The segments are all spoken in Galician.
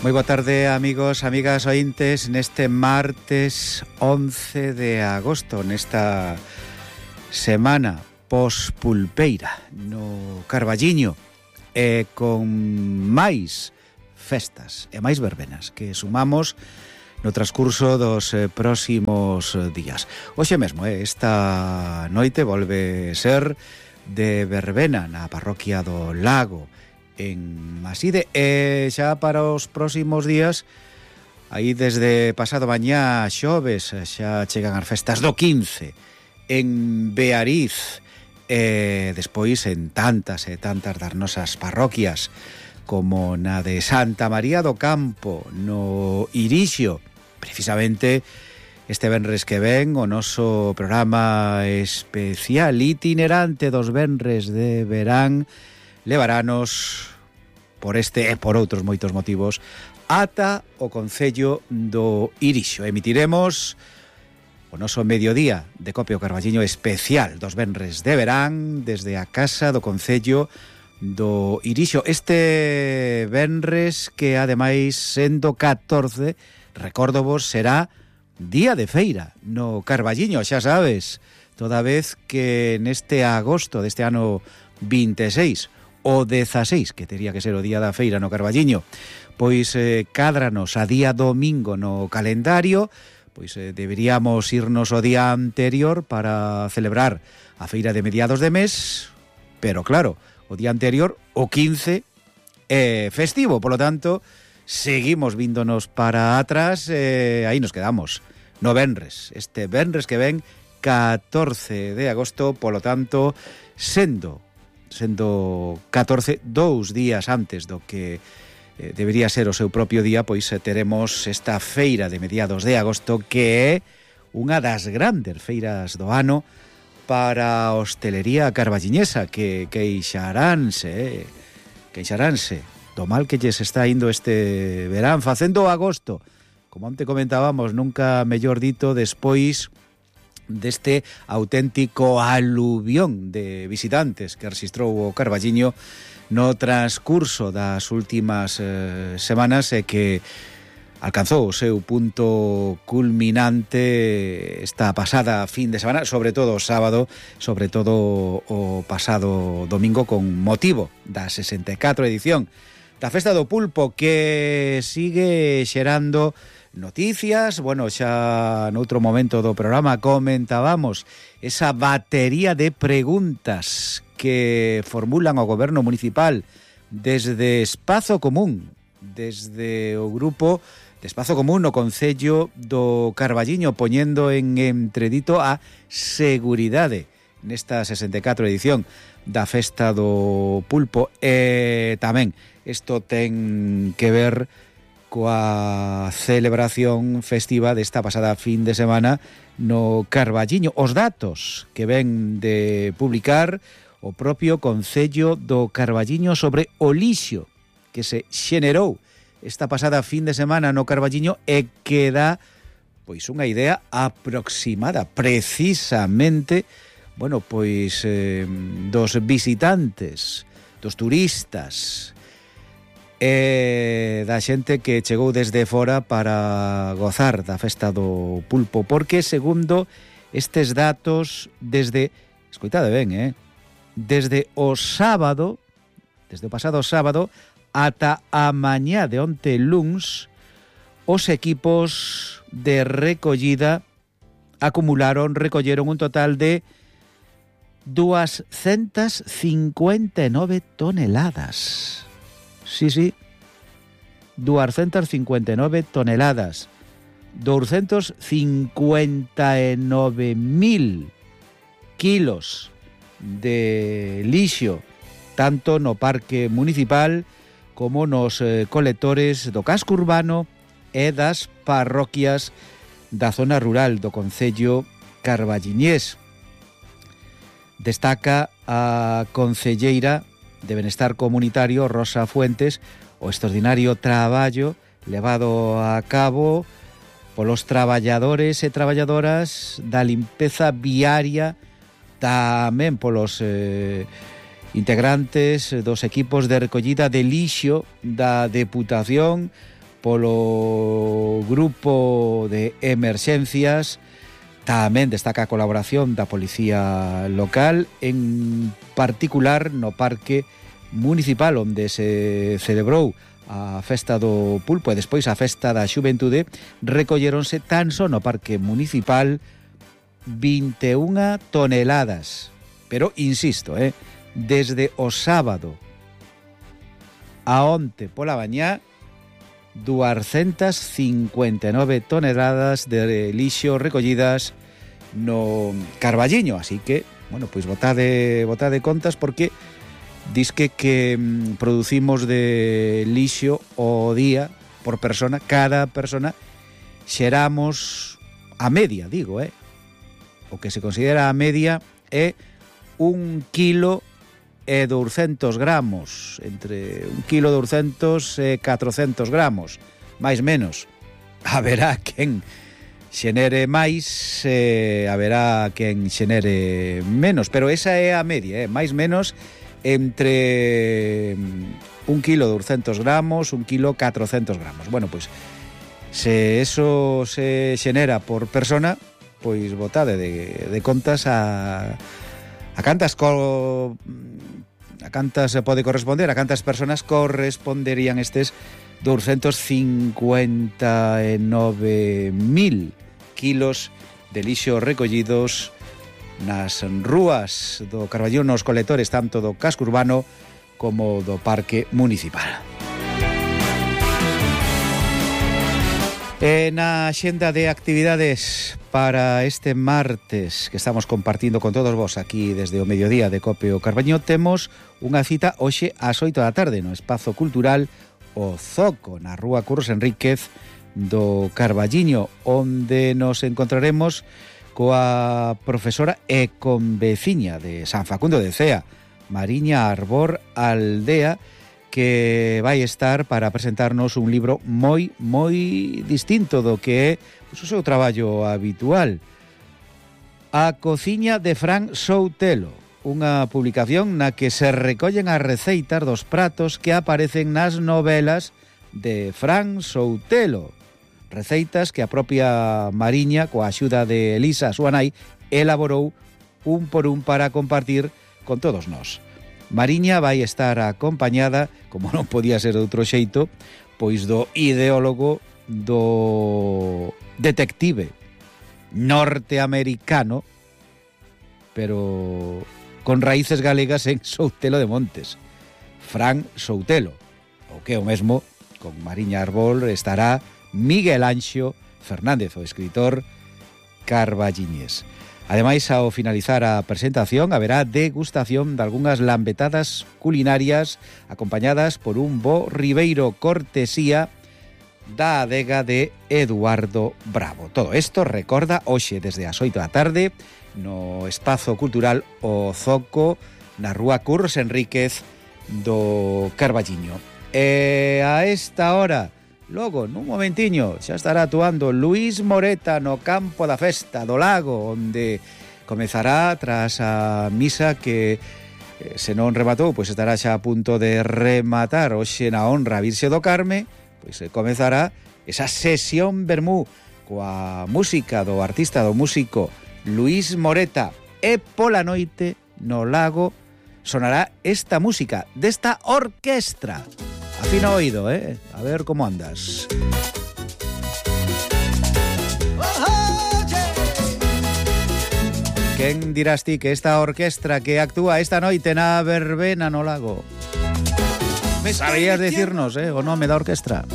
Moi boa tarde, amigos, amigas ointes, neste martes 11 de agosto, nesta semana pospulpeira no Carballiño, e con máis festas e máis verbenas que sumamos no transcurso dos próximos días. Hoxe mesmo, esta noite volve ser de verbena na parroquia do Lago, en Maside, e xa para os próximos días, aí desde pasado mañá xoves, xa chegan as festas do 15 en Beariz, e despois en tantas e tantas das nosas parroquias, como na de Santa María do Campo, no Irixio. Precisamente este venres que ven, o noso programa especial itinerante dos venres de verán levaranos por este e por outros moitos motivos ata o concello do Irixio. Emitiremos o noso mediodía de Copia o Carballiño especial dos venres de verán desde a casa do concello do Irixio. Este venres que ademais sendo 14, recórdovos, será día de feira no Carballiño, xa sabes, toda vez que neste agosto deste ano 26 o 16, que tería que ser o día da feira no Carballiño, pois cádranos a día domingo no calendario, pois deberíamos irnos o día anterior para celebrar a feira de mediados de mes, pero claro, o día anterior, o 15, é festivo, polo tanto, seguimos víndonos para atrás, aí nos quedamos, no venres, este venres que ven 14 de agosto, polo tanto, sendo 14, 2 días antes do que debería ser o seu propio día, pois teremos esta feira de mediados de agosto, que é unha das grandes feiras do ano para a hostelería carballiñesa, que queixaránse do mal que lles está indo este verán facendo agosto, como onte comentábamos, nunca mellor dito, despois deste auténtico aluvión de visitantes que rexistrou o Carballiño no transcurso das últimas semanas, e que alcanzou o seu punto culminante esta pasada fin de semana, sobre todo o sábado, sobre todo o pasado domingo, con motivo da 64 edición da Festa do Pulpo, que sigue xerando noticias. Bueno, xa noutro momento do programa comentábamos esa batería de preguntas que formulan o goberno municipal desde Espazo Común, desde o grupo de Espazo Común no concello do Carballiño, poñendo en entredito a seguridade nesta 64 edición da Festa do Pulpo. E tamén isto ten que ver coa celebración festiva desta pasada fin de semana no Carballiño. Os datos que ven de publicar o propio concello do Carballiño sobre o lixo que se xenerou esta pasada fin de semana no Carballiño, e que dá pois unha idea aproximada precisamente, bueno, pois dos visitantes, dos turistas, e da xente que chegou desde fora para gozar da Festa do Pulpo, porque segundo estes datos, desde, escoitade ben, desde o sábado, desde o pasado sábado ata a mañá de onte luns, os equipos de recollida recolleron un total de 259 toneladas. Sí, 259 toneladas, 259.000 kilos de lixo, tanto no parque municipal como nos colectores do casco urbano e das parroquias da zona rural do concello carballiñés. Destaca a concelleira de Benestar Comunitario, Rosa Fuentes, o extraordinario traballo levado a cabo polos traballadores e traballadoras da limpeza viaria, tamén polos integrantes dos equipos de recollida de lixo da Deputación, polo grupo de emerxencias. Tamén destaca a colaboración da Policía Local, en particular no Parque Municipal, onde se celebrou a festa do pulpo e despois a festa da xuventude. Recolleronse tan só no Parque Municipal 21 toneladas. Pero, insisto, desde o sábado a onte pola mañá, 259 toneladas de lixo recollidas no Carballiño. Así que, bueno, pois botade contas, porque disque que producimos de lixo o día por persona. Cada persona xeramos a media, digo, o que se considera a media é 1 kilo e 200 gramos, entre 1 kilo 200 e 400 gramos, máis menos. Haberá quen xenere máis, haberá quen xenere menos, pero esa é a media, máis menos entre 1 kilo 200 gramos, 1 kilo 400 gramos. Bueno, pois, se eso se xenera por persona, pois botade de contas a cantas se pode corresponder, a cantas personas corresponderían estes 259.000 kilos de lixo recollidos nas rúas do Carballiño, nos colectores tanto do casco urbano como do Parque Municipal. Na xenda de actividades para este martes que estamos compartindo con todos vos aquí desde o mediodía de Cope o Carballiño, temos unha cita hoxe ás 8 da tarde no Espazo Cultural O Zoco, na Rúa Curros Enríquez do Carballiño, onde nos encontraremos coa profesora e conveciña de San Facundo de Cea, Mariña Arbor Aldea, que vai estar para presentarnos un libro moi distinto do que é o seu traballo habitual. A cociña de Fran Soutelo, unha publicación na que se recollen as receitas dos pratos que aparecen nas novelas de Fran Soutelo. Receitas que a propia Mariña, coa axuda de Elisa, a súa nai, elaborou un por un para compartir con todos nós. Mariña vai estar acompañada, como non podía ser de outro xeito, pois do ideólogo, do detective norteamericano, pero con raíces galegas en Soutelo de Montes, Fran Soutelo. O que é o mesmo, con Mariña Arbol estará Miguel Anxo Fernández, o escritor carballiñés. Ademais, ao finalizar a presentación, haberá degustación de algunhas lambetadas culinarias acompañadas por un bo ribeiro, cortesía da adega de Eduardo Bravo. Todo isto, recorda, hoxe desde as 8 da tarde no Espazo Cultural O Zoco, na Rúa Curros Enríquez do Carballiño. E a esta hora, logo, nun momentiño, xa estará actuando Luis Moreta no campo da festa do Lago, onde comezará tras a misa que, se non rematou, pois estará xa a punto de rematar hoxe na honra a Virxe do Carme, pois comezará esa sesión vermú coa música do artista, do músico Luis Moreta, e pola noite no Lago sonará esta música desta orquestra. Afina o oído, a ver como andas. Quen dirás ti que esta orquestra que actúa esta noite na verbena no Lago? Sabías decirnos, o nome da orquestra?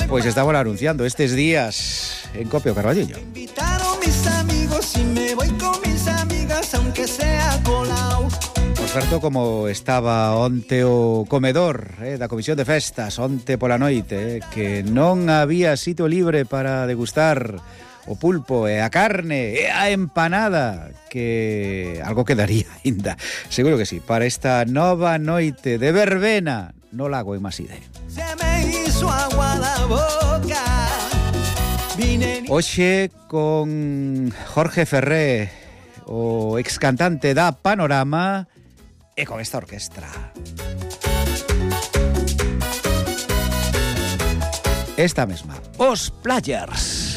Pois estamos anunciando estes días en Cope o Carballiño. Invitaron mis amigos y me voy con mis amigas aunque sea colao. Por certo, como estaba onte o comedor da Comisión de Festas, onte pola noite, que non había sitio libre para degustar o pulpo e a carne e a empanada, que algo quedaría ainda, seguro que sí, para esta nova noite de verbena no Lago en Maside. Se me hizo agua la boca. Hoxe con Jorge Ferré, o excantante da Panorama, e con esta orquestra. esta mesma, os Players.